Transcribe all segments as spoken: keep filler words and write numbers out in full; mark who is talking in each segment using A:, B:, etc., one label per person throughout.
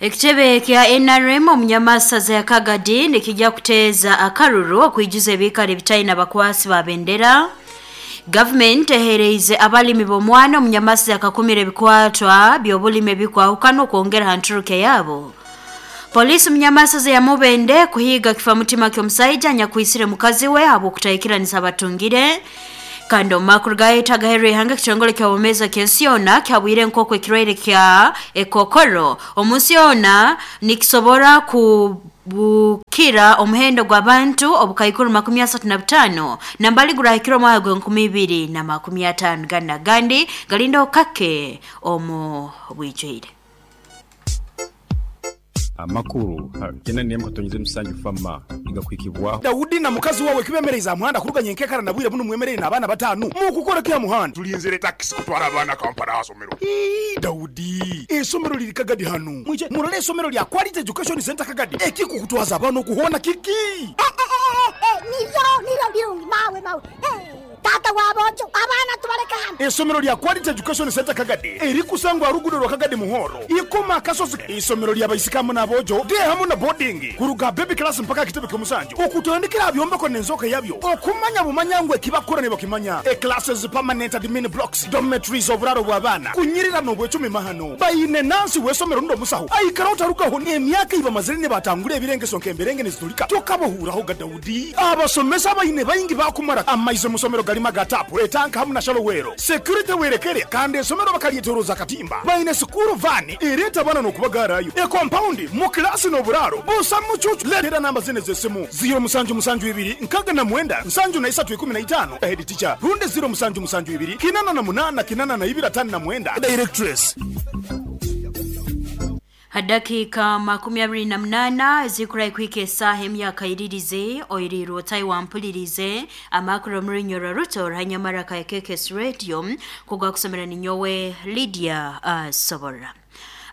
A: Ekitebe kya N R M omunyamasaza ya Kagadi nikijja kuteeza akaruru okwijuza ebikari ebitaina bakwasi ba bendera. Government ehereize abalimi b'omwana omunyamasaza akakumira ebikwatwa by'obulimi ebikwahukana okwongera ha nturuke yabo. Polisi munyamasaza ya Mubende kuhiga kifamutima ky'omusaija anyakuisire mukazi we habw'okutahikiranisa abatungire. Kandi omumakuru gaita gaherwe ihanga ekitongole kya Bomeza ky'ensi kyabwire nk'oku ekirwaire kya ekokoro omunsi yona nikisobora kubukira omuhendo gw'abantu obukaikuru makumi asatu na butaano nambali gurahikira omwaka gw'enkumi ibiri na makumi ataano gana gandi galinda okake omu bwijwire.
B: Amakuru tena ni mkatonyize musanju fama igakwikibwa
C: Daudi na mukazi wawe kibemereza muhanda kuruganya enkekara na bwire buno mwemerere n'abana batanu mukukora kya muhanda
D: tulinzire taxi kutwara abana Kampala asomero.
C: Ii Daudi esomero liri Kagadi hanu mwije murole esomero lya Quality Education Center Kagadi ekikukutwaza abana okuhona kiki
E: nivyo nivyo birungi mawe mawe tata wabojo abana tubareka hano.
C: Esomero lya Quality Education Center Kagadi erikusangwa rugudo rwa Kagadi Muhoro ikoma kasozi. Isomero lya baisikamu nabojo de hamu na boarding kuruga baby class mpaka kitebe kyomusanju okutandikira byombeko nenzoka yabyo okumanya bumanyangwe kibakora ne bakimanya e classes permanent admin blocks dormitories oburaro bw'abana kunyirira no bwecumi mahano bayine nansi wesomero ndo musaho aikara utarugaho emyaka iba mazire ne batangure ebirengeso nkemberenge nezitulika tokabohuraho ga Daudi abasomesa bayine bayingi bakumara amaize musomero galima gatapu etanka hamu na shalowero security werekere kandi esomero bakaliyetoroza katimba bayine sukuru vani ereta bana no kubagarayo e compound mu class no buraro busa mucucu letera namba zine zesimu zero musanju musanju ibiri nkaga na mwenda nsanju na isatu ikumi na itano head teacher runde zero musanju musanju ibiri kinana na munana kinana na ibira tano na mwenda directress.
A: Hadakika makumi abiri na munana zikura kwike saha emyaka iririze oirirwo Taiwan mpulirize amakuru muri ruto ranyamara ka K K S Radio kugwa kusomera ninyowe Lydia uh, Sobora.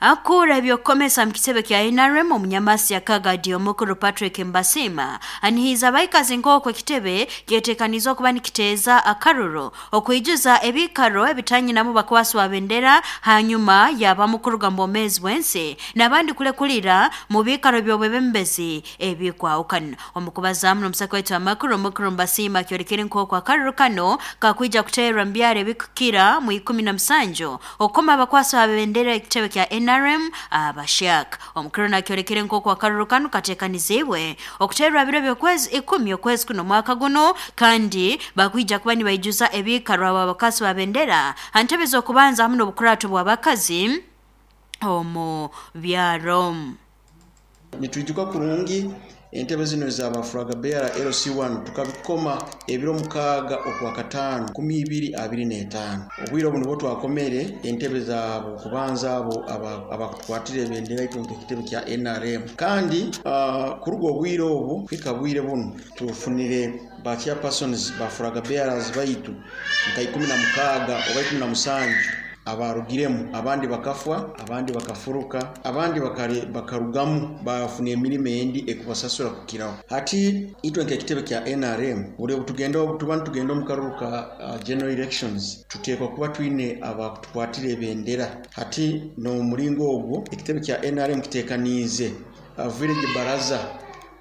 A: Akura ebyokomesa mukitebe kya N R M omunyamasi ya Kagadi omukuru Patrick Mbasima anihiza abaikazi nk'okwo ekitebe kyetekanizwa kuba nikiteeza akaruru okwijuza ebikaro ebitanyinamu bakwasi wa bendera hanyuma yaba mukuruga mbomezi bwensi n'abandi kulekulira mu bikaro by'obwebembezi ebikwawukana. Omukubazamu n'omusaka waitu amakuru omukuru Mbasima kyorekere nk'okwo akaruru kano kakwija kuteerwa mbyaro ebikukira mu ikumi na musanju okukoma abakwasi wa bendera ekitebe kya N R M abashaka. Omukuru nakyorekere nk'oku akaruru kano katekanizibwe okuterwa biro by'okwezi ikumi okwezi kuno mwaka guno kandi bakwija kuba nibaijuza ebikaro abakasi ba bendera antebe z'okubanza hamwe n'obukurato bw'abakazi omu byaro.
F: Nitwijuka kurungi entebe zino za Flag Bearer L C one tukabikoma ebiro mukaaga okwa katano kumi ibiri abiri n'etaano. Obwire obuno bwo twakomere entebe zaabo kubanza abo abakukwatira ebendera itwe ekitebe kya N R M kandi uh, kuruga obwire obu kwika bwire buno tufunire ba chairpersons ba Flag Bearers baitu nka ikumi na mukaaga oba ikumi na musanju abarugiremu, abandi bakafwa, abandi bakafuruka, abandi bakare bakarugamu bafuna emirimo endi ekubasasura kukiraho. Hati itwe nk'ekitebe kya N R M buli tugenda tuba tugenda omu karuru ka uh, general elections tuteekwa kuba twine abakutukwatira ebendera. Hati n'omuringo ogwo ekitebe kya N R M kiteekaniize uh, village baraza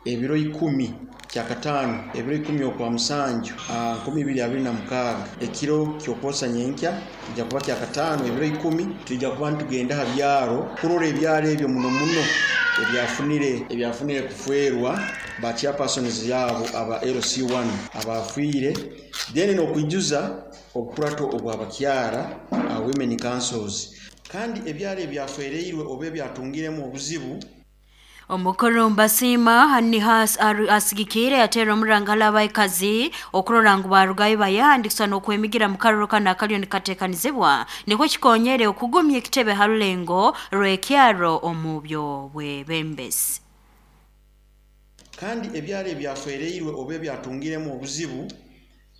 F: ebiro ikumi kya katano ebiro ikumi okwa musanju nkumi ibiri abiri na mukaaga ekiro kyokwosa nyenkya kijja kuba kya katano ebiro ikumi tujja kuba ntugenda ha byaro kurora ebyaro ebyo muno muno ebyafunire ebyafunire kufwerwa ba chairpersons yabo aba L C one abafiire then n'okwijuza obukurato obwabakyara uh, women councils kandi ebyaro ebyafereirwe oba ebyatungiremu obuzibu.
A: Omukuru Mbasima hanihas asigikire atera omurangala abaikazi okurora ngu barugayo bayandikisa n'okwemigira mu karuru kano akaliyo nikateekanizibwa nikwo kikonyere okugumya ekitebe ha rulengo rw'ekyaro omu by'obwebembezi.
F: Kandi ebyaro ebyafereirwe oba ebyatungiremu obuzibu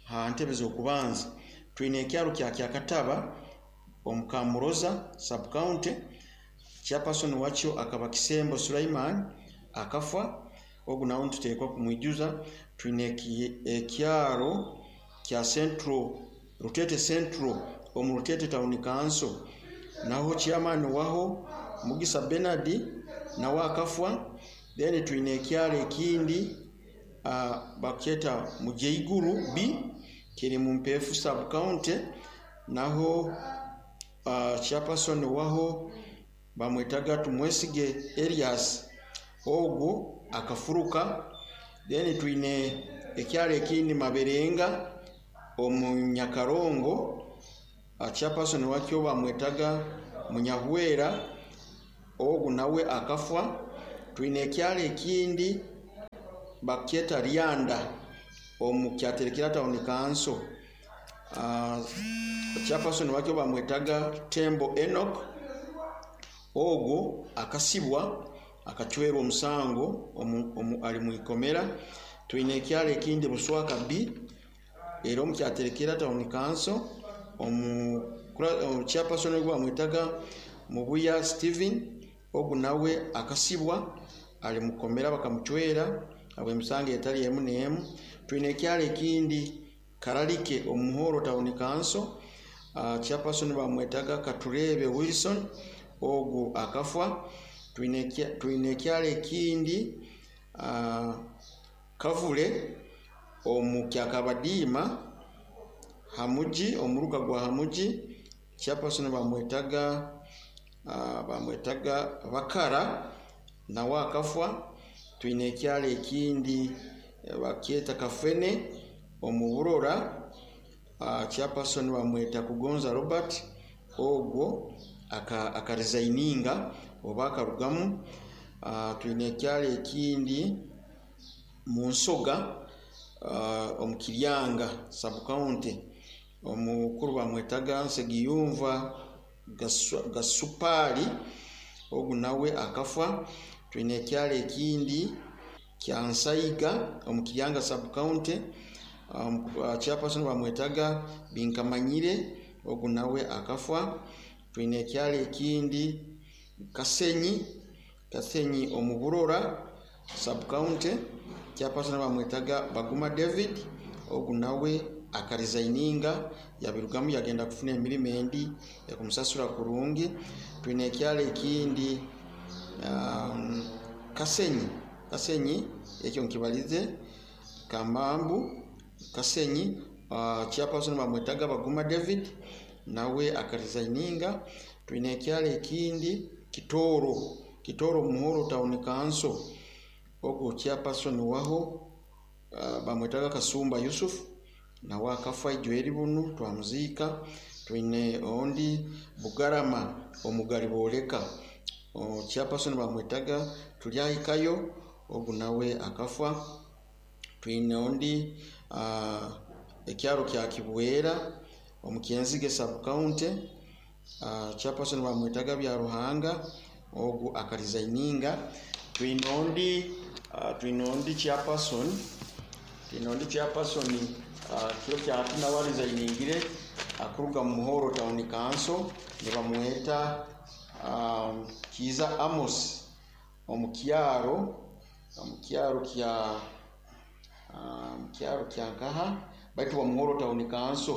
F: ha ntebe z'okubanza twine ekyaro kya Kyakataba omu Kamuroza sub county. Chairperson wakyo akaba Kisembo Sulaiman akafa ogu nawo ntuteekwa kumwijuza. Twine ekyaro kya Central Rutete Central omu Rutete Town Council naho chairman waho Mugisa Bernard nawe akafwa. Then twine ekyalo ekindi uh, bakyeta Mujeiguru B kiri mu Mpefu sub county, naho uh, chairperson waho bamwetaga Tumwesige Elias, ogwo akafuruka. Then twine ekyalo ekindi Maberenga omu Nyakarongo, uh, chairperson wakyo bamwetaga Munyahwera, ogwo nawe akafwa. Twine ekyalo ekindi bakyeta Ryanda omu Kyaterekera town council, uh, chairperson wakyo bamwetaga Tembo Enoch, ogwo akasibwa akachwerwa omusango omu, omu, ali muikomera. Twine ekyalo ekindi Buswaka B era omu Kyaterekera town council, omu chairperson ogwo bamwetaga Mubuya Steven, ogwo nawe akasibwa ali mukomera bakamuchwera abwe emisango etali emu n'emu. Twine ekyalo ekindi Karalike omuhoro town council, uh, chairperson bamwetaga Katurebe Wilson, ogwo akafwa. Twine twine ekyalo ekindi uh, Kavule omu Kyakabadiima Hamuji, omuruka gwa Hamuji, chairperson bamwetaga uh, bamwetaga Bakara, nawe akafwa. Twine ekyalo ekindi bakyeta Kafene omu Burora, uh, chairperson bamweta Kugonza Robert, ogwo aka akaresigninga oba akarugamu. Uh, twine ekyalo ekindi Munsoga uh, omu Kiryanga sub county, omukuru bamwetaga Nsegiyumva Gasupali, ogwo nawe akafwa. Twine ekyalo ekindi Kyansaiga omu Kiryanga sub county, um, uh, chairperson bamwetaga Binkamanyire, ogwo nawe akafwa. Twine ekyalo ekindi Kasenyi, Kasenyi omu Burora sub county, chairperson bamwetaga Baguma David, ogwo nawe akaresigninga yabirugamu yagenda kufuna emirimu endi ekumusasura kurungi. Twine ekyalo ekindi um, Kasenyi, Kasenyi ekyo nkibalize Kamambu Kasenyi, uh, chairperson bamwetaga Baguma David, nawe akaresigninga. Twine ekyalo ekindi Kitoro, Kitoro Muhoro town council, ogwo chairperson waho uh, bamwetaga Kasumba Yusuf, nawe akafa ijweri bunu twamuziika. Twine ondi Bugarama omugali boleka, chairperson bamwetaga Tulyahikayo, ogwo nawe akafa. Twine ondi uh, ekyalo kya Kibwera omu Kyenzige sub county, uh, chairperson bamwetaga Byaruhanga, ogwo akaresigninga. Twine ondi uh, twine ondi chairperson twine ondi chairperson uh, kiro kya tina wareesigningire akuruga mu Muhoro town council, nibamweta um, Kiza Amos omu kyaro omu kyaro kya um, kyaro kya Nkaha baitu wa Muhoro town council.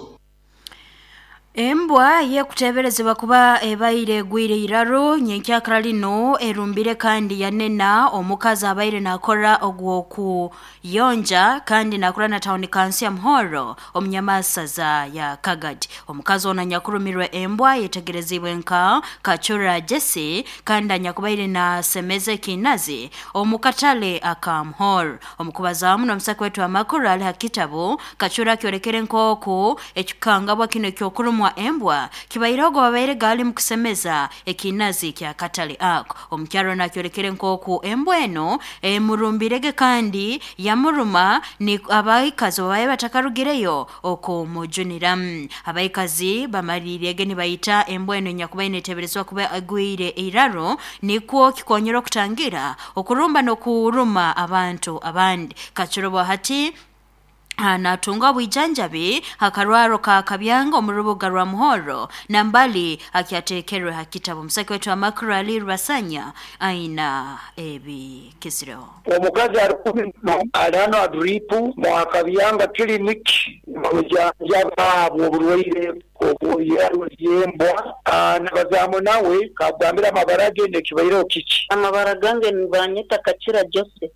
A: Embwa yekuteberezebwa kuba ebaire gwire iraro nyenkyakara lino erumbire kandi yanena omukazi abaire nakora ogwo kuyonja kandi nakora na town council ya Muhoro omunyamasaza ya Kagadi. Omukazi ono anyakurumirwe embwa yetegerezibwe nka Kachura Jesse kandi anyakubaire na semeze kinazi omukatale aka Muhoro. Omukubazamu n'omusaka wetu amakuru ali hakitabo Kachura kyorekere nkoko ekikangabwa kino ekyokurumwa embwa kibairogo babaire gali mukusemeza ekinazi kya katale ako. Omukyaro nakyorekere nkoku embwa eno emurumbirege kandi yamuruma ni abaikazi babaye batakarugireyo okumujunira. Abaikazi bamarirege nibayita embwa eno nyakubaine eteberezwa kuba agwire iraro nikwo kikonyera okutangira okurumba n'okuruma abantu abandi. Kachuro hati anatunga bwijanjabi hakarwaro ka Kabyanga omurubuga rwa Muhoro na mbali akyatekerwe hakitabo. Musaki wetu amakuru Ali Rwasanya aina ebi kisiro.
G: Omukazi arikumi alano adripu mu Kabyanga clinic mujanjaba oburwaire Yembwa nabazamu nawe kagambira amabara ge nekibaireho kiki.
H: Amabara gange nibanyeta Kakira Jose,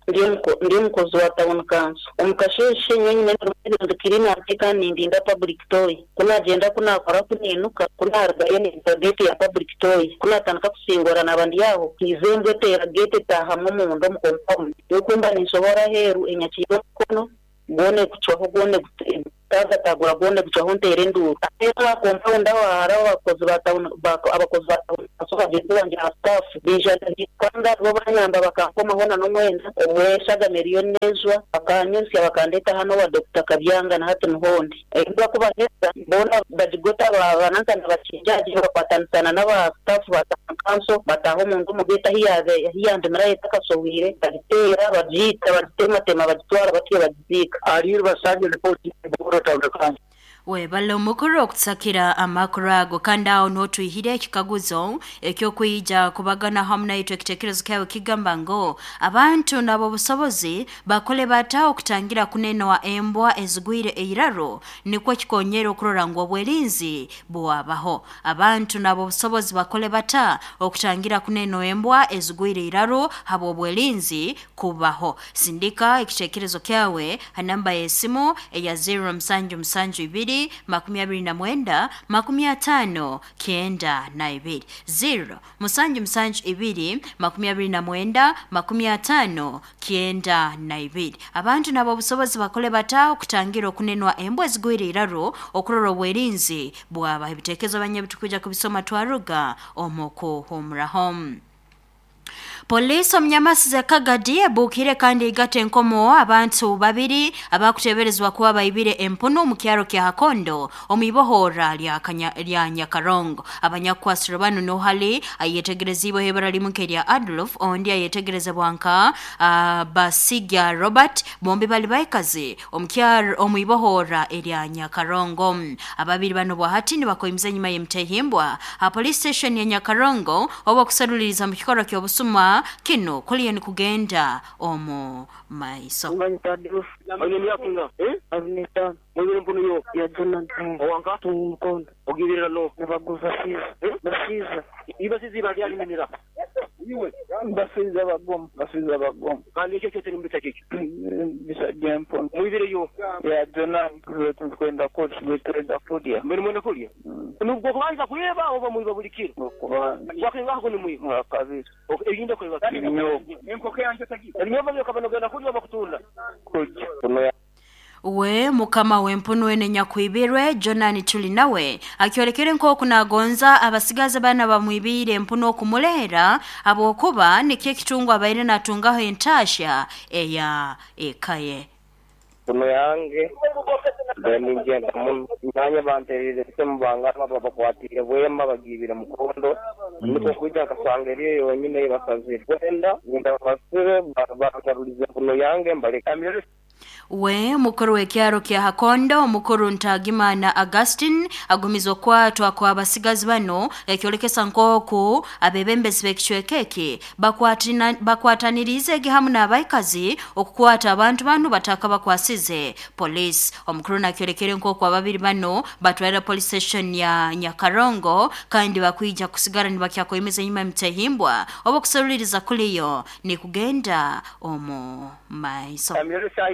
H: ndi omukozi wa town council. Omukasheshe nyonyine ndikirina nteka nindinda public toy. Kunagenda kunakora kuninuka kunarugayo ninta gate ya public toy. Kunatandika kusingora nabandi aho izembwe tera gate tahamu munda mu compound. Yokumba ninsobora heru enyakiro mukono gone kucwaho gone tagatagura gone kucwaho ntere nduru. Ero compound aho haraho abakozi ba town abakozi ba town bagenzi banjye na staff bija kanda bo banyamba bakankomaho na n'umwenda obweshaga miliyoni nezwa bakanyunsya bakandeta hano wa Doctor Kabyanga na hati Muhondi. Embwa kubaheza bona bagigota babananka nabakinjaji bakwatanisana n'aba staff ba town council bataho omundu mugeta hiyabe hiyandemera yetakasohwire bagitera babyita bagitematema bagitwara batiye bagizika.
G: Ari basanje report Buhoro Town Council.
A: Webale omukuru okutusakira amakuru ago kandi aho n'otwihire ekikaguzo ekyokwija kubagana hamu naitwe ekitekerezo kyawe kigamba ngo abantu nabo obusobozi bakole bata okutangira kunenwa embwa ezigwire eiraro nikwo kikonyera okurora ngu obwerinzi bwabaho. Abantu nabo obusobozi bakole bata okutangira kunenwa embwa ezigwire eiraro habo obwerinzi kubaho. Sindika ekitekerezo kyawe ha namba y'esimu eya zero musanju musanju ibiri makumi abiri na mwenda makumi atano kenda na ibiri zero musanju musanju ibiri makumi abiri na mwenda makumi atano kenda na ibiri. Abantu nabo obusobozi bakole bata okutangira okunenwa embwa ezigwire iraro okurora obwerinzi bwaba. Ebitekerezo banye bitukuja kubisoma twaruga omukuhumuraho. Polisi omnyamasi Kagadi ebukire kandi igate enkomo abantu babiri abakuteberezwa kuba baibire empunu mu kyaro kya Hakondo omibohora lya lya Nyakarongo. Abanyakwasiro bano no hali ayetegerezibwe hebara limuke lya Adolf ondi ayetegerezebwa nka uh, Basigya Robert bombi bali baikazi omukyaro omuibohora erya Nyakarongo. Ababiri bano bwahati ni bakoimiza nyuma y'emtehimbwa ha police station ya Nyakarongo obo kusaluliriza mu kikoro ky'obusuma kino kuliyo ni kugenda omu maiso.
G: Basiza bagom basiza bagom kandi ekyo kyose nimbita kiki bisajja empunu mwibireyo ya Jonah kwenda kwenda kulya mbere mwenda kulya nubwo kubanza kuyeba oba mwiba buli kiro wakinga ko ni mwiba kabiri ebinda kweba enkoko yanjye tagiye ebinyobwa byo kulya bakutunda kulya.
A: We mukama wempunu wene nyakwibirwe Jonani tuli nawe akiolekere nko kunagonza abasigaza bana bamwibire empunu okumulera abokuba nikye kitungu abaire natungaho entasha eya ekaye.
I: Puno yange ningenda mwanya banterire mubanga babakwatire bwema bagibira mukondo niko kujya kasanga eriyo yonyine basazire wenda ngenda basire bagaruliza puno yange mbaleka.
A: We mukuru w'ekyaro kya Hakondo mukuru Ntagimana Augustine agumizwa kwatwa kwa abasigazi bano ekyolekesa nkoku abebembezi b'ekicwekeke bakwatanirize hamu n'abaikazi okukwata abantu bano bataka bakwasize police. Omukuru nakyolekere nkoku ababiri bano batwalira police station ya Nyakarongo kandi bakwija kusigara nibakyakoyemeza nyuma mtehimbwa obo kusaluliriza kuliyo ni kugenda omu maiso.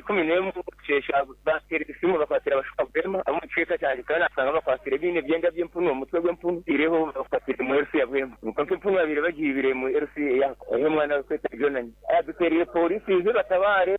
I: Kumi n'emu kushesha basiteri isimu bakwatira abashuka bwema abo muceka cyane kandi asanga bakwatira bine byenda by'empunu umutwe gw'empunu ireho bakwatira mu R C ya bwema nuko empunu babiri bagibire mu R C ya aho mwana kweta Jonani aduteriye polisi ize batabare.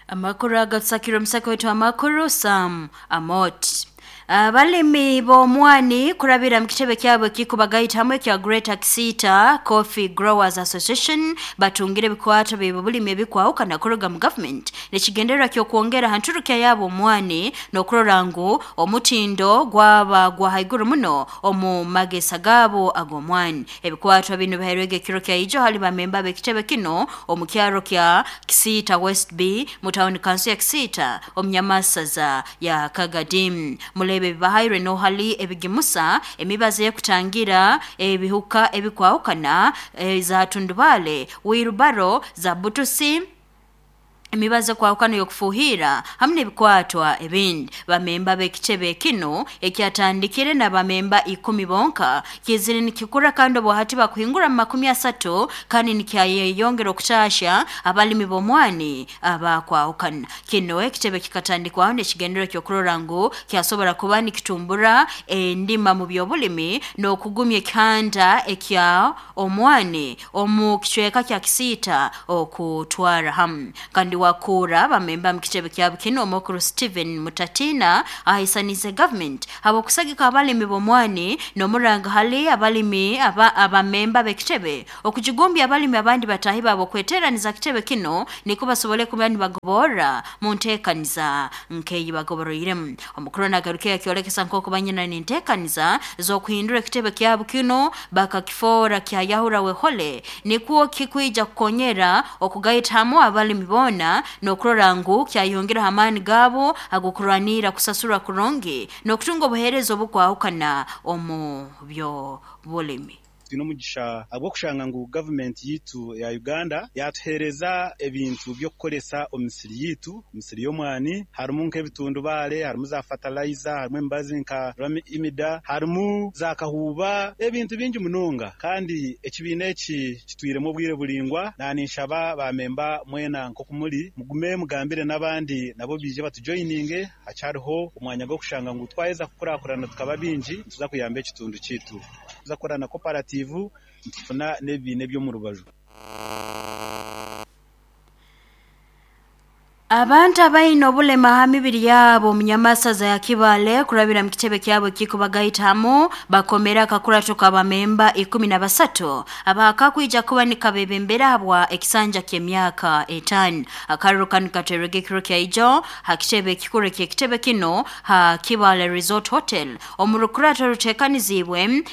A: Amakuru agatsakiro msako wetu amakuru Sam Amot. Abalimi b'omwani kurabira mu kitebe kyabwe kikubagaita hamwe kya Greater Kisita Coffee Growers Association batungire bikwato bibulimi ebikwawukana kuruga mu government nekigendererwa ky'okwongera hanturukya yabo omwani n'okurora ngu omutindo gwaba gwa haiguru muno omu magesa gabo ag'omwani. Ebikwato bino bihairwege ekiro kya ijo hali bamemba b'ekitebe kino omu kyaro kya Kisita West B mu town council ya Kisita omunyamasaza ya Kagadim. Mulebe bibahairwe no hali ebigimusa emibaze kutangira ebihuka ebikwawukana e, za tundubale wirubaro za butusi emibaze kwahukana y'okufuhira hamwe n'ebikwatwa ebindi. Bamemba b'ekitebe kino ekyatandikire na bamemba ikumi bonka kizire nikikura kandi obwahati bakuhingura mu makumi asatu kandi nikyayeyongera okutasha abalimi b'omwani abakwahukana. Kino ekitebe kikatandikwaho n'ekigendero ky'okurora ngu kyasobora kuba nikitumbura endima mu by'obulimi n'okugumya ekihanda ekya omwani omu kicweka kya Kisiita okutwara hamu. Kandi wakura bamemba mu kitebe kya Bukino omukuru Steven Mutatina ahisanize government abo kusagika abalimi b'omwani n'omuranga hali abalimi aba abamemba b'ekitebe okujigumbya abalimi abandi batahi babo kweteraniza kitebe kino niko basobole kuba nibagobora mu ntekaniza nkeyi bagoboroiremu. Omukuru nagarukiya kyolekesa nk'oku banyina n'entekaniza z'okuhindura ekitebe kya Bukino bakakifora kya Yahura wehole nikuo kikwija kukonyera okugaitamu abalimi bona n'okurora ngu kyayongera amaani gabo agokurwanira kusasura kurungi n'okutunga obuheereza obukwahukana omu byo bulimi.
J: Twine omugisha agw'okushanga ngu gavumenti yitu ya Uganda yatuhereza ebintu by'okukoresa omu misiri yitu, emisiri y'omwani, harimu nk'ebitundubaare, harimu za fertilizer, harimu emibazi nka imida, harimu za kahuuba, ebintu bingi munonga. Kandi ekibiina eki kitwiremu obwire buringwa, naninshaba bamemba mwena nk'okumuri mugume mugambire n'abandi nabo bije batujoyininge. Hacyariho omwanya gw'okushanga ngu twaheza kukurakurana tukaba bingi, tuza kuyamba ekitundu kitu, tuza kukora na cooperative, ntufuna n'ebibiina eby'omu rubaju.
A: Abantu abaine obulema ha mibiri yabo omunyamasaza ya Kibale kurabira mu kitebe kyabo kikubagaitamu bakomera akakurato kabamemba ikumi na basatu abakakwija kuba nikabebembera habwa ekisanja ky'emyaka etaano. Akaruru kanu katerege kiro kya ijo ha kitebe kikuru ky'ekitebe kino ha Kibale Resort Hotel omu rukurato rutekanizibwe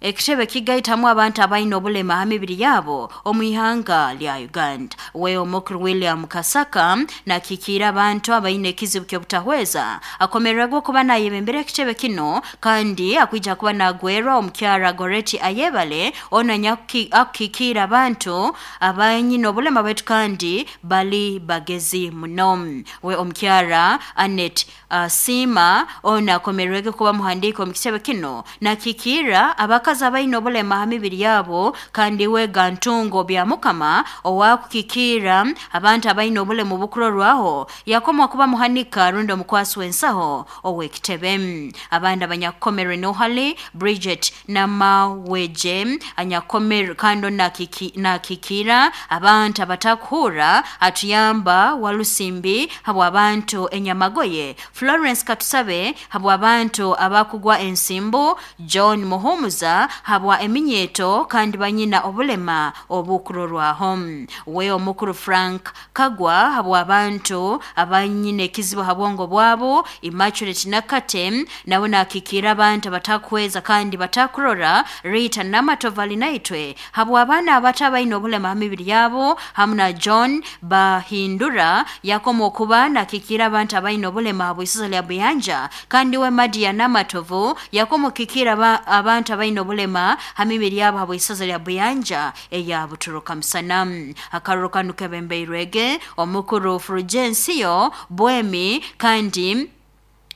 A: ekitebe kigaitamu abantu abaine obulema ha mibiri yabo omu ihanga lya Uganda. We omukuru William Kasaka nakikira abantu abaine ekizibu ky'obutahweza akomererwa kuba nayebembera ekitebe kino kandi akwija kuba nagwerwa omukyara Goreti Ayebale ona akikira abantu abaine obulema baitu kandi bali bagezi muno. We omukyara Anet uh, Sima ona akomererwa kuba muhandiko omu kitebe kino nakikira abaka abaine obulema ha mibiri yabo kandi we gantungo bya mukama owakukikira abantu abaine obulema obukurorwaho yakomwa kuba muhanika rundo omukwasi w'ensaho ow'ekitebe. Abandi abanyakukomerwe nohali Bridget Namaweje anyakomerwe kandi nakikira abantu abatakuhura atuyamba Walusimbi habwa abantu enyamagoye, Florence Katusabe habwa abantu abakugwa ensimbu, John Muhumuza habwa eminyeto kandi banyina obulema obukurorwaho. We omukuru Frank Kagwa habwa abantu abanyina ekizibu habwongo bwabo, Immaculate Nakate nawe nakikira abantu abatakweza kandi batakurora, Rita Namatovali naitwe habwa abana abatabaine obulema ha mibiri yabo, hamwe na John Bahindura yakoma okuba nakikira abantu abaine obulema habw'isaza lya Buyanja, kandi we Madia Namatovu yakoma okukikira abantu abaine obulema ha mibiri yabo habw'isaza lya Buyanja eya Buturuka Musana. Akaruru kanu kebembeirwege omukuru Fulgensio Bwemi kandi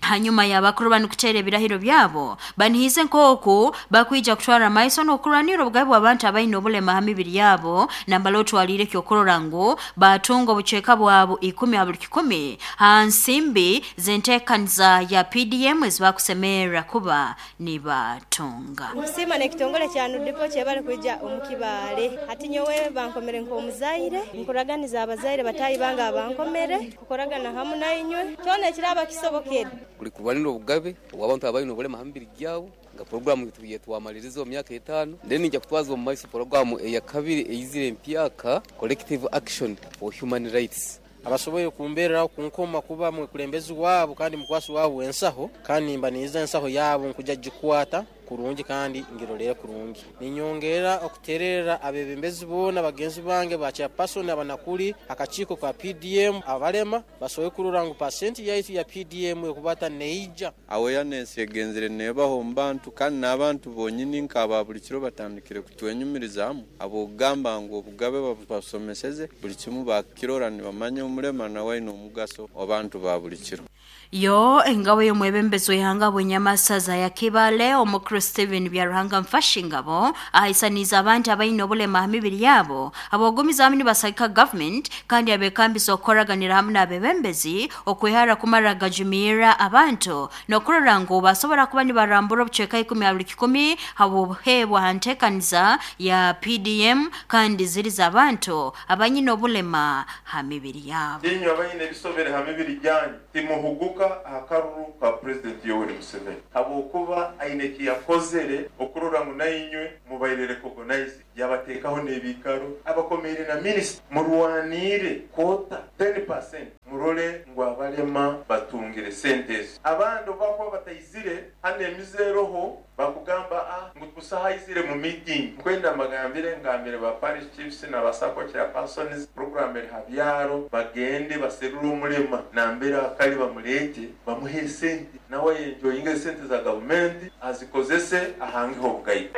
A: hanyuma y'abakuru banu kutera ebirahiro byabo banihize nk'oku bakwija kutwara maiso n'okurwanira obugabe bw'abantu abaine obulema ha mibiri yabo nambala otwalire ekyokurora ngu batunga obucweka bwabo ikumi ha buli kikumi ha nsimbi z'enteekaniza ya P D M ezibakusemerera kuba nibatunga.
K: Nkusima n'ekitongole kya Nudipo kyebale kwija omu Kibale. Hati nyowe bankomere nk'omuzaire, nkuraganiza abazaire batayi banga abankomere kukoragana hamu nainywe kyona ekiraba kisobokere.
L: Kuli kurwanira obugabe obw'abantu abaine obulema ha mibiri gyabo nga programu yetwamaliriza omu myaka etaano, then nja kutwaza omu maiso programu eya kabiri eyizire empyaka, Collective Action for Human Rights.
M: Abasoboye kumbereraho kunkoma kuba mwekulembezi waabo kandi mukwasi waabo ensaho, kandi mba niiza ensaho yaabo nkuja gikwata kurungi kandi ngirolere kurungi. Ninyongera okuterera abebembezi boona bagenzi bange ba chairperson abanakuli akakiiko ka P D M abalema basoboye kurora ngu pasenti yaitu ya P D M ekubata neija.
N: Awareness egenzere nebaho mu bantu kandi n'abantu bonyini nk'aba buli kiro batandikire kutwenyumirizaamu abogamba ngu obugabe babasomeseze buli kimu bakirora nibamanya omulema nawe aine omugaso abantu ba buli kiro.
A: Yo engabo y'omwebembezi w'ihanga bw'enyamasaza ya Kibale omukuru Steven Byaruhanga Mfashingabo ahaisaniza abantu abaine obulema ha mibiri yabo abogumiza hamwe nibasagika government kandi abekambisa okukoraganira hamwe n'abebembezi okwehara kumara gajumira abantu n'okurora ngu basobora kuba nibarambura obucweka ikumi abiri kikumi habuhebwa ha nteekaniza ya P D M kandi ziriza abantu abanyine obulema ha mibiri yabo.
O: Inywe abaine ebisobere ha mibiri gyanyu timuhuguka akaruru ka President Yoweri Museveni habwokuba aine kiyakozere okurora ngu nainywe mubaire recognize yabateekaho n'ebikaro abakomeire na minister murwanire kota ten percent murole ngu abalema batungire sentes abandi bakuba bataizire hano emizeroho bakugamba ah ngu tusahaizire mu meeting nkwenda magambire ngambire ba parish chiefs na basako chairpersons program eri habyaro bagende baserura omulema nambera akali bamulete bamuhe sente nawe enjoyinge sente za government azikozese ahangeho obugayi.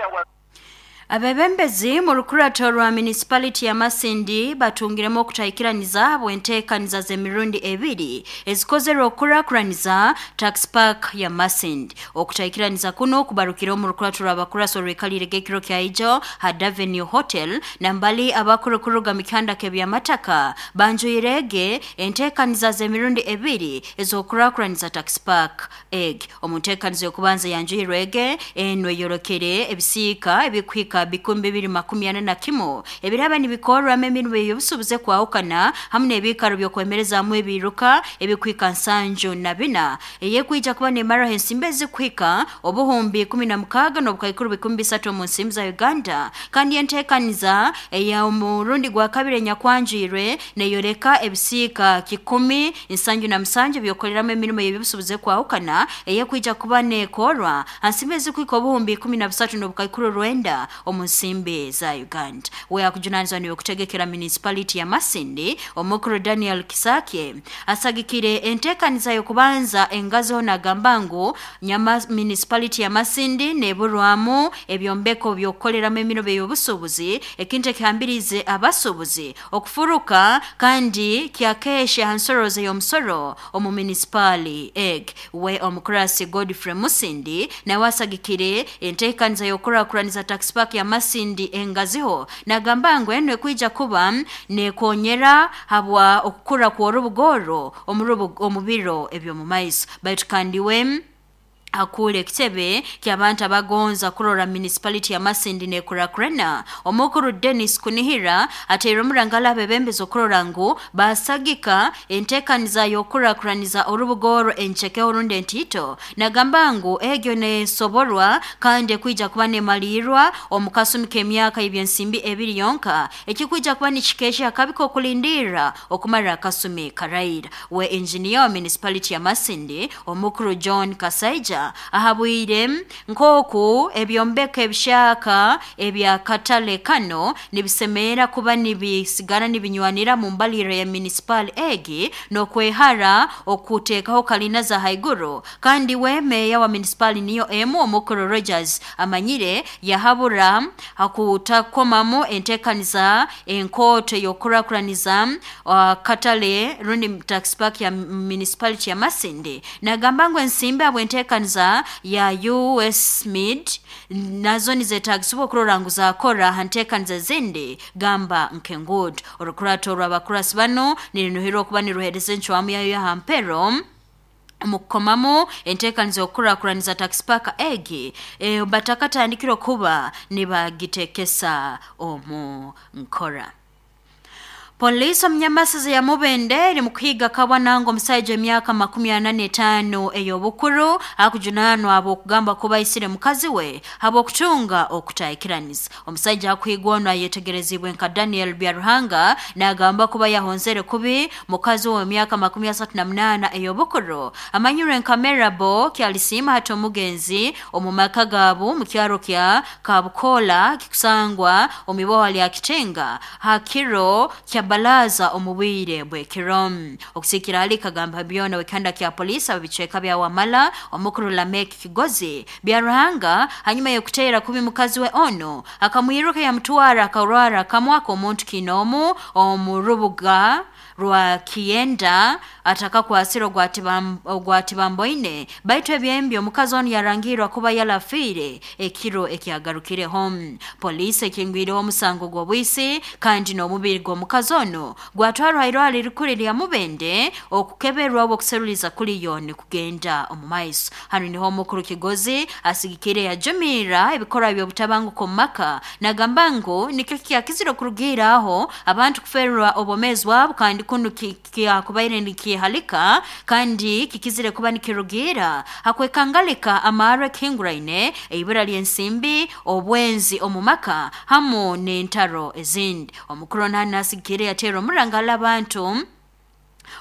A: Abebembezi mu rukurato rwa municipality ya Masindi batungiremo okutaikiraniza bwenteekaniza z'emirundi ebiri ezikozerwe okukurakuraniza tax park ya Masindi. Okutaikiraniza kuno kubarukira omu rukurato rw'abakuraso rwekalire gekiro kya ijo ha Davenue Hotel nambali abakurukuruga mikanda kebyamataka banjuirege enteekaniza z'emirundi ebiri ez'okukurakuraniza tax park egg. Omu nteekaniza y'okubanza yanjuirwege enwe yorokere ebisiika ebikwika bikumi bibiri makumi ana na kimu ebiraba nibikorwamu emirimo y'obusubuze kwahukana hamwe n'ebikaro by'okwemerezaamu ebiruka ebikwika nsanju na bina eyekwija kuba nemaraho ensimbi ezikwika obuhumbi ikumi na mukaaga n'obukaikuru bikumi bisatu omu nsimbi za Uganda. Kandi enteekaniza ey'omurundi gwa kabiri enyakwanjwirwe neyoreka ebisiika kikumi nsanju na musanju by'okukoreramu emirimo y'eby'obusubuze kwahukana eyekwija kuba nekorwa ensimbi ezikwika obuhumbi ikumi na busatu n'obukaikuru rwenda omu nsimbi za Uganda. We akujunanizwa niwe kutegekera municipality ya Masindi omukuru Daniel Kisake asagikire enteekaniza y'okubanza engazo nagamba ngu nyama municipality ya Masindi neburwamu ebyombeko by'okukoleramu emirimo y'obusuubuzi ekintu ekihambirize abasuubuzi okufuruka kandi kyakeshe hansorozo y'omusoro omu municipali egg. We omukurasi Godfrey Musindi nawe asagikire enteekaniza y'okukurakuraniza tax park ya Masindi engaziho nagamba ngu eno ekwija kuba nekonyera habwa okukura kw'orubugoro omu biro eby'omu maiso. Baitu kandi we akule ekitebe ky'abantu abagonza kurora municipality ya Masindi nekurakurana omukuru Dennis Kunihira ateire omurangala abebembezi okurora ngu basagika enteekaniza y'okukurakuraniza orubugoro encheke orundi entito nagamba ngu egyo nesoborwa kandi ekwija kuba nemalirwa omu kasumi k'emyaka ebyensimbi ebiri yonka ekikwija kuba nikikesha akabi k'okulindira okumara akasumi karaira. We engineer wa municipality ya Masindi omukuru John Kasaija ahabwire nkoku ebyombeko ebishaka ebyakatale kano nibisemera kuba nibisigara nibinywanira mu mbaliro ya municipal egi n'okwehara okuteekaho kalina za haiguru. Kandi we meya wa municipal niyo emu omukuru Rogers amanyire yahabura hakutakomamu enteekaniza enkoto y'okukurakuraniza uh, katale rundi tax park ya municipality ya Masindi nagamba ngu ensimbi abwe enteekaniza ya U S mid nazo nizetagisiwa okurora ngu zakora hanteekaniza zindi gamba nkengudo. Orukurato rw'abakurasi bano nirinuhirwa okuba niruhereza encwamu yayo ya hampero mukukomamu enteekaniza okukurakuraniza tax park egi e, batakatandikire okuba nibagitekesa omu nkora. Polisi omunyamasizi ya Mubende eri mukuhiga kabwanango omusajja emyaka makumi ana n'etaano ey'obukuru akujunanwa ab'okugamba kuba aisire mukazi we habw'okutunga okutahikiraniza. Omusajja akuhigwa ono ayetegerezibwe nka Daniel Byaruhanga n'agamba kuba yahonzere kubi mukazi we emyaka makumi asatu na munaana ey'obukuru amanyirwe nka Merabo kyalisiima hati omugenzi omu maka gaabo mu kyaro kya Kabukola kikusangwa omu iboha lya Kitenga hakiro kya balaza omubwire bwekiro. Okusikira ali kagamba byona wekanda kya polisi abicweka bya Wamala omukuru Lamek Kigozi Byaruhanga hanyuma yokuteera kubi mukazi we ono akamwiruka yamutwara akarwara kamwaka omuntu kinomu omurubuga rwa Kienda atakakwasira ogwatibamboine baitu ebyembi omukazi ono yarangirwa kuba yalafiire ekiro ekyagarukireho. Polisi ekingwireho omusango gw'obwisi kandi n'omubiri gw'omukazi ono gwatwarwa irwaliro rikuru lya Mubende okukeberwa obwokuseruliza kuliyo nikugenda omu maiso. Hano niho omukuru Kigozi asigikire yajumira ebikorwa by'obutabanguko mu maka nagamba ngu nikyo kyakizire okurugira aho abantu kuferwa obwomeezi bwabo kandi kunu kyakubaire nikihalika kandi kikizire kuba nikirugira hakwekangalika amarwe kihinguraine eibura ly'ensimbi obwenzi omu maka hamu n'entaro ezindi. Omukuru nasigikire yatera omurangala abantu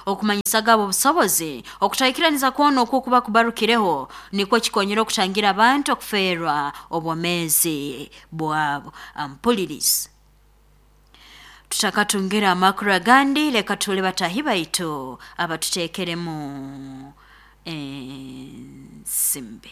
A: okumanyisa gabo obusobozi okutahikiraniza kwono okwo kuba kubarukireho nikwo kikonyera okutangira abantu okuferwa obwomeezi bwabo. Ampulirizi tutakatungira amakuru agandi leka tule batahi baitu abatuteekeremu ensimbi.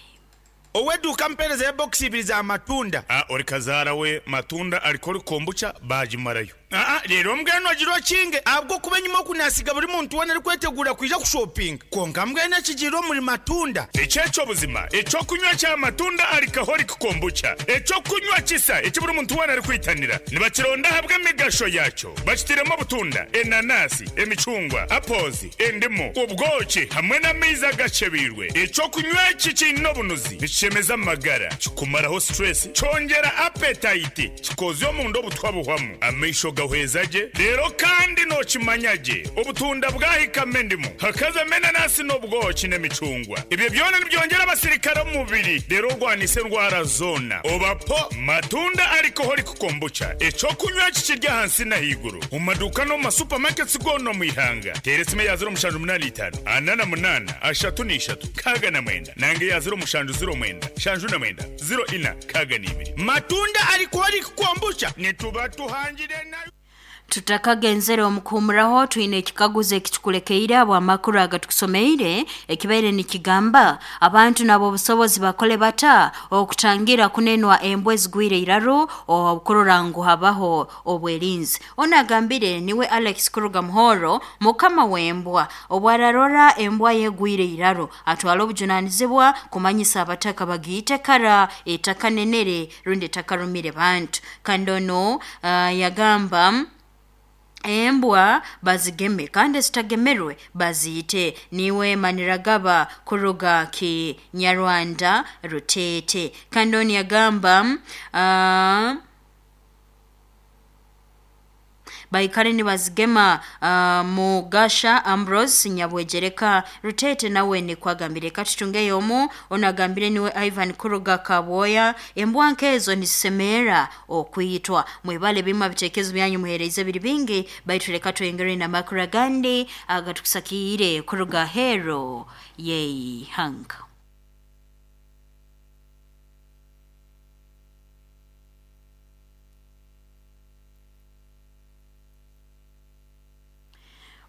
P: Oweduka mpereza ya box ibiri za matunda.
Q: Ah, ori kazara we matunda alikoli kombucha bajimarayo.
P: Ah, rero mbweno agirwa kinge abwo kuba nyuma kunasiga buri muntu wena ari kwetegura kwija kushopping. Konka mbwene kigiro muri matunda.
Q: Echecho buzima, echo kunywa cha matunda alikaholi kombucha. Echo kunywa kisa eki buri muntu wena ari kwitanira. Nibakironda habwe emigasho yacho. Bakitiremo butunda, enanasi, emicungwa, apozi, endimu, ubwoki hamwe n'amaizi agacebirwe. Echo kunywa iki kino bunuzi. Nikishemeza amagara, kikumaraho stress, cyongera appetite, kikozyo mu ndo butwabuhwamu. Amaisho gahwezaje rero kandi nokimanyage obutunda bwahikame ndimu hakaza menanasi n'obwoki n'emicungwa. Ibyo byona nibyongera abasirikare mu mubiri rero rwanise ndwara zona. Obapo matunda alcoholic kombucha eco kunywa kikirya hansi na higuru mu maduka no mu supermarkets gono mu ihanga. Teresime ya zero mushanju munani itanu anana munana ashatu n'ishatu kaga na mwenda nange ya zero mushanju zero mwenda shanju na mwenda zero ina kaga n'ibiri.
P: Matunda alcoholic kombucha nituba tuhangire na
A: Tutakagenzere omukumuraho twine ekikaguzo ekitukulekeire abo amakuru agatukusomeire ekibaire nikigamba abantu nabo obusobozi bakole bata okutangira kunenwa embwa ezigwire iraru okurora ngu habaho obwerinzi. Ono agambire niwe Alex Kuruga Muhoro mukama w'embwa obwararora embwa yegwire iraru atwala obujunanizibwa kumanyisa abataka bagiite kara etakanenere rundi etakarumire bantu. Kandi ono uh, yagamba embwa bazigeme kandi zitagemerwe baziyite. Niwe Maniragaba kuruga ki Nyarwanda Rutete. Kandi oni yagamba uh, baikare ni bazigema uh, Mugasha Ambrose Nyabwejereka Rutete nawe ni kwagambire katutunge yomu onagambire niwe Ivan Kuruga Kaboya embwa nkezo nisemera okwitwa. Mwebale bima bitekezo byanyu muhereze biri bingi baitu reka twengere na makura gandi agatukusakire Kuruga hero yei hanga.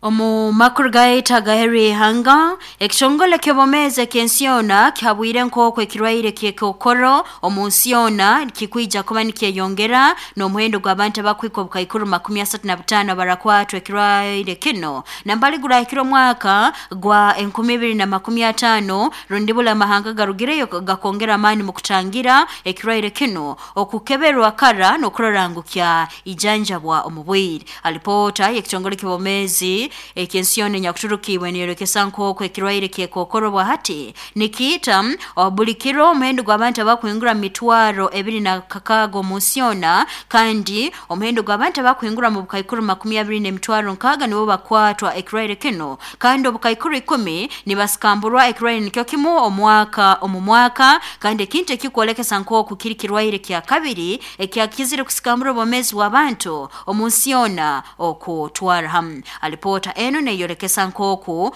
A: Omu makuru gaita gaheri hanga ekitongole ky'obomeze ky'ensiona kihabwire nk'okwo ekirwaire ky'ekokoro omu nsiona kikwija kuba nikyeyongera n'omuhendo gw'abantu abakwika obukaikuru makumi asatu na butaano barakwatwa ekirwaire kino nambali gurahikire omwaka gwa enkumi ibiri na makumi ataano rundi bula amahanga garugireyo gakongera amaani mu kutangira ekirwaire kino okukeberwa kara n'okurora ngu kya ijanjabwa omu bwire. Alipoota y'ekitongole ky'obomezi Obwomezi eky'ensi yona enyakuturukibwe neyolekesa nk'oku ekirwaire ky'ekokoro bwahati nikiita buli kiro omuhendo gw'abantu abakuhingura mu mitwaro ebiri na kakaaga omu nsi yona, kandi omuhendo gw'abantu abakuhingura mu bukaikuru makumi abiri n'emitwaro nkaaga nibo bakwatwa ekirwaire kino, kandi obukaikuru ikumi nibasikamburwa ekirwaire nikyo kimu omwaka omu mwaka, kandi ekintu ekikwolekesa nk'oku kiri kirwaire kya kabiri ekyakizire kusikambura obwomezi bw'abantu omu nsi yona okutwara hamu. Alipoota eno neyolekesa nk'oku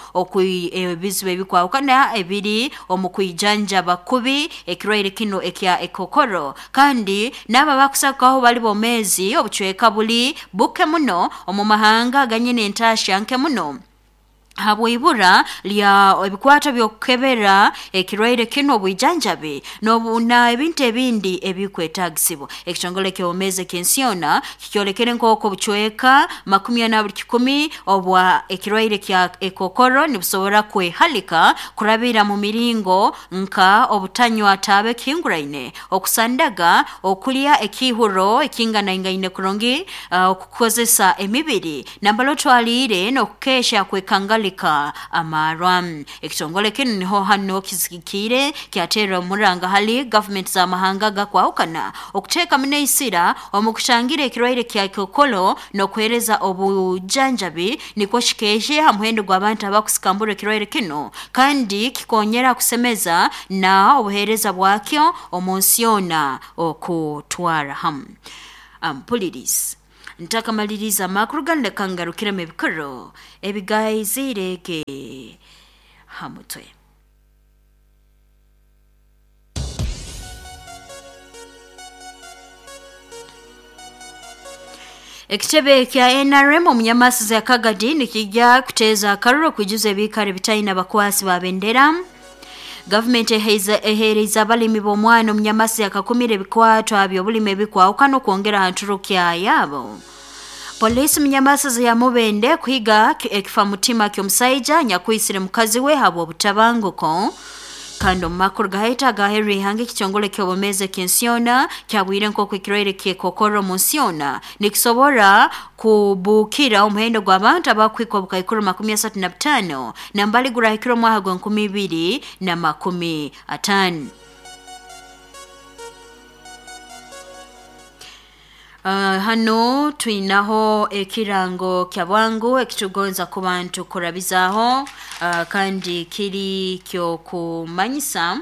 A: ebizibu ebikwahukana ebiri omu kwijanjaba kubi ekirwaire kino ekya ekokoro, kandi n'abo abakusakaho bali bomezi obucweka buli buke muno omu mahanga aganyine entasya nke muno habwibura lya ebikwato by'okukebera ekirwaire kino obwijanjabi na ebintu ebindi ebikwetagisibwa. Ekitongole ky'obwomezi eky'ensi yona kikyolekere nk'oku obucweka makumi ana buli kikumi obwa ekirwaire kya ekokoro nibusobora kwehalika kurabira mu miringo nka obutanywa taabe ekihinguraine, okusandaga, okulya ekihuro ekinganaingaine kurungi, uh, okukozesa emibiri nambala otwaliire n'okukesha kwekangalika amarwa. Ekitongole kino niho hano kizikire kyatera omuranga hali government za mahanga gakwahukana okuteeka muneisira omu kushangira ekirwaire kya kokolo n'okuhereza obujanjabi nikwo kikeeshe ha muhendo gw'abantu abakusikambura ekirwaire kino, kandi kikonyera kusemeza na obuhereza bwakyo omu nsi yona okutwara hamu. Ampulirizi ntakamaliriza amakuru ganu leka ngarukiremu ebikuru ebigaizirege ha mutwe. Ekitebe kya N R M omunyamasiza ya Kagadi nikijja kuteeza akaruru okujuza ebikare bitaina bakwasi ba bendera. Government ehereza abalimi b'omwana omunyamasi akakumira ebikwatwa by'obulimi ebikwahukana okwongera ha nturukya yabo. Polisi munyamasi ya Mubende kuhiga ekifa mutima ky'omusaija nyakwisire mukazi we habw'obutabanguko. Kandi omu makuru gaheta agaheru ihanga ekitongole ky'obwomezi eky'ensi yona kyabwire nk'oku ekirwaire ky'ekokoro omu nsi yona nikisobora kubukira omuhendo gw'abantu abakuhika obukaikuru makumi asatu na butaano nambali gurahikire omwaka gw'enkumi ibiri na makumi ataano. Uh, hano twinaho ekirango kya bwangu ekitugonza ku bantu kurabizaho, uh, kandi kiri kyo kumanyisa